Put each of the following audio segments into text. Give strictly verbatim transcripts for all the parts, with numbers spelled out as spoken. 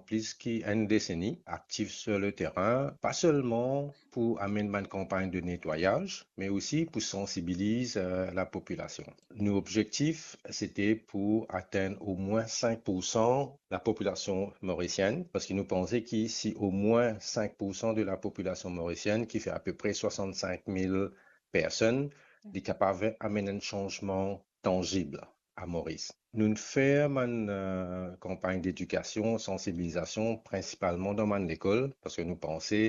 plis ki enn deseni, aktif sur le terrain, pa selman pou amenn bann kanpagn de netwayaz, me osi pou sansibiliz, eh, lapopilasion. Nou objektif, sete pou atenn omwin sink pour san lapopilasion morisienn, parski nou panse ki si omwin sink pour san de lapopilasion morisienn, ki fer apepre swasannsink mil personn, li kapav amenn enn sanzman tanzib a Moris. Nou'nn fer bann, eh, kanpagn dedikasion, sansibilizasion, prinsipalman dan bann lekol, parski nou panse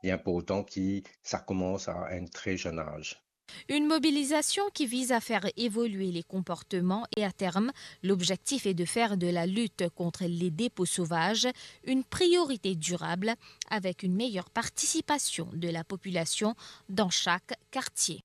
li inportan ki sa koumans a enn tre zenn az. Une mobilisation qui vise à faire évoluer les comportements et à terme, l'objectif est de faire de la lutte contre les dépôts sauvages une priorité durable avec une meilleure participation de la population dans chaque quartier.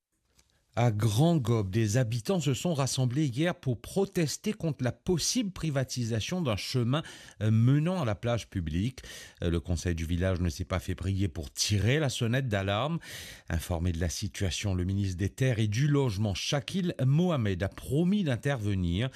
À Grand Gob, des habitants se sont rassemblés hier pour protester contre la possible privatisation d'un chemin, euh, menant à la plage publique. Euh, le conseil du village ne s'est pas fait prier pour tirer la sonnette d'alarme. Informé de la situation, le ministre des Terres et du Logement, Shakil Mohamed, a promis d'intervenir.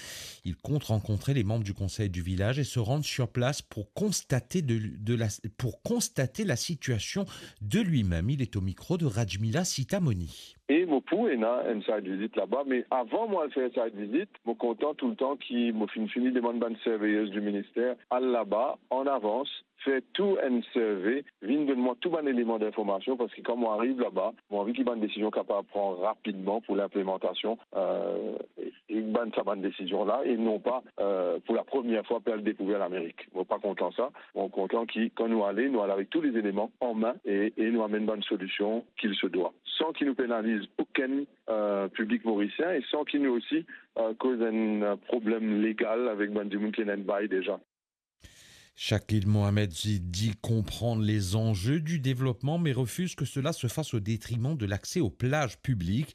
Il compte rencontrer les membres du conseil du village et se rendre sur place pour constater de, de la, pour constater la situation de lui-même. Il est au micro de Rajmila Sitamoni. E mo pou ena enn site visit laba, me avan mo al fer site visit, mo kontan touletan ki mo finn fini demann bann surveyors du minister al laba an avans, fer tou enn survey, vinn donn mwa tou bann eleman dinformasion, parski kan mo ariv laba, mo anvi ki bann desizion kapav pran rapidman pou linplemantasion, eh, e, e bann sa bann desizion la, e non pa, eh, pou lapremier fwa pe al dekouver Lamerik. Mo pa kontan sa. Mo kontan ki kan nou ale, nou al avek tou lezeleman an me e, e nou amenn bann solision ki se dwa, san ki nou penaliz okenn, eh, piblik morisien e san ki nou osi, eh, koz enn, eh, problem legal avek bann dimoun ki ena enn bay deza. Shakil Mohamed dit comprendre les enjeux du développement, mais refuse que cela se fasse au détriment de l'accès aux plages publiques.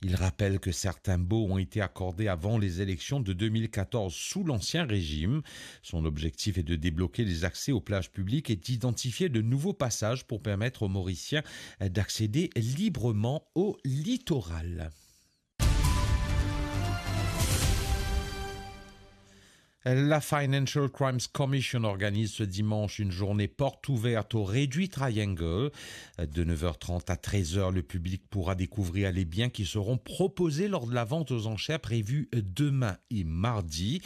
Il rappelle que certains baux ont été accordés avant les élections de deux mille quatorze sous l'ancien régime. Son objectif est de débloquer les accès aux plages publiques et d'identifier de nouveaux passages pour permettre aux Mauriciens d'accéder librement au littoral. La Financial Crimes Commission organise ce dimanche une journée porte ouverte au Réduit Triangle. De neuf heures trente à treize heures, le public pourra découvrir les biens qui seront proposés lors de la vente aux enchères prévue demain et mardi.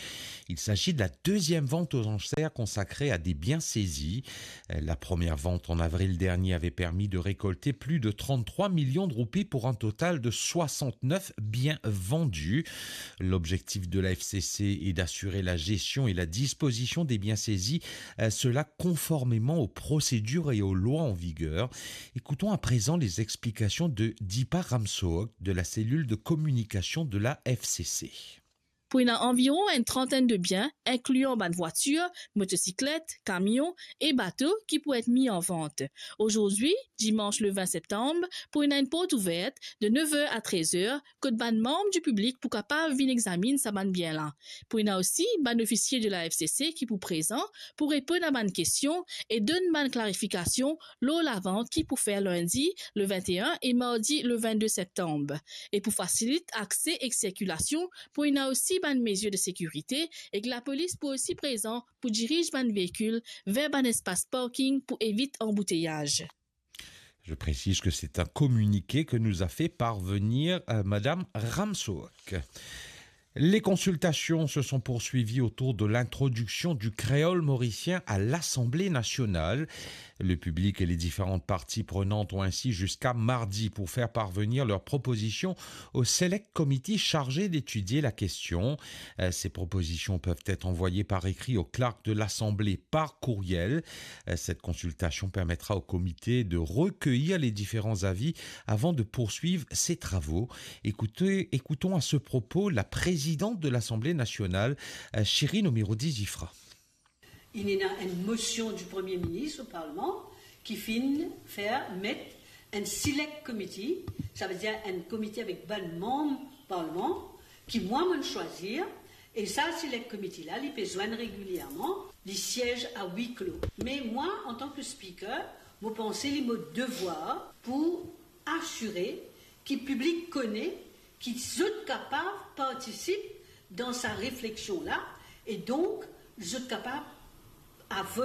Il s'agit de la deuxième vente aux enchères consacrée à des biens saisis. La première vente en avril dernier avait permis de récolter plus de trente-trois millions de roupies pour un total de soixante-neuf biens vendus. L'objectif de la F C C est d'assurer la gestion et la disposition des biens saisis, euh, cela conformément aux procédures et aux lois en vigueur. Écoutons à présent les explications de Deepa Ramsohok de la cellule de communication de la F C C. Pou ena anviron enn trantenn de bien, inklian bann vwatir, motosiklet, kamion e bato ki pou et mi an vant. Ozordi, dimans le vin septanm, pou ena enn port ouver de nev er a trez er, kot bann manm di piblik pou kapav vinn examinn sa bann bien la. Pou ena osi bann ofisie de la F C C ki pou prezan pou reponn a bann kestion e donn bann klarifikasion lor lavant ki pou fer lindi le vin e enn e mardi le vin de septanm. E pou fasilit akse ek sirkilasion, pou ena osi bann mezir de sekirite ek lapolis pou osi prezan pou diriz bann veikil ver bann espas parking pou evit anbouteyaz. Je précise que c'est un communiqué que nous a fait parvenir, euh, Madame Ramsohok. Les consultations se sont poursuivies autour de l'introduction du créole mauricien à l'Assemblée nationale. Le public et les différentes parties prenantes ont ainsi jusqu'à mardi pour faire parvenir leurs propositions au Select Committee chargé d'étudier la question. Euh, ces propositions peuvent être envoyées par écrit au clerc de l'Assemblée par courriel. Euh, cette consultation permettra au comité de recueillir les différents avis avant de poursuivre ses travaux. Écoutez, écoutons à ce propos la présidente de l'Assemblée nationale, euh, Shirin Omiroudi Giffra. Inn ena enn mosion di Premie Minis o Parlman ki finn fer met enn select committee, savedir enn komite avek bann manm Parlman, ki mwa monn swazir, e sa select committee la, li pe zwenn regilierman, li siez a huis clos. Me mwa, antan ki Speaker, mo panse li mo devwar pou asire ki piblik kone ki zot kapav partisip dan sa refleksion la, e donk zot kapav avoy